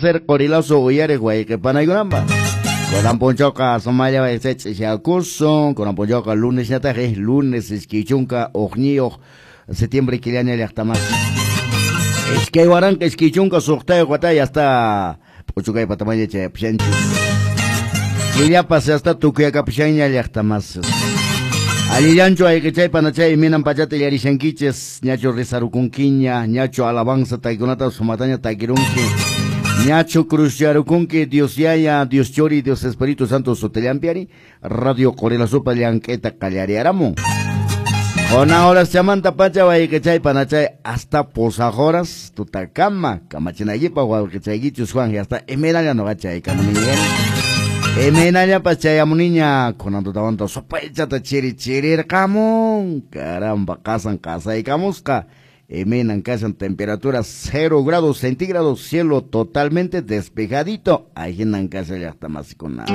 Tercer Qorilazo uyariq wayqi panaykunapaq. Kunan punchawqa sumalla wayqichay ch'isyakusun, kunan punchawqa lunesñataqi, lunes 21 septiembre killaña llaqtamasi. 2026 watay hasta p'uchukay patamaña chayapushanchis. Killapas hasta tukuyakapushanña llaqtamasi. Allillanchu ayqichay panachay imaynan pachata illarishankichis, ñachu rezarukunkiña, ñachu alabanza takikunata sumataña takirunki, ñachu cruzcharukunki Dios Yaya, Dios Churi, Dios Espíritu Santo sutillampiari, Radio Qorilazupa llank'ayta qallariaramun. Kunan horas chamanta pacha wayqichay panachay hasta pusaq horas tutakama kamachinaykipaq wawqichaykichus Juan hasta imaynalla noqa chaykamuniña. Imaynallapas chayamuniña kunan tutawanta supaychata chiri chirirqamun. Caramba, qasan qasaykamusqa. Imaynan kashan temperatura 0 grados centígrados, cielo totalmente despejadito. Ahinan kashan llaqtamasikuna.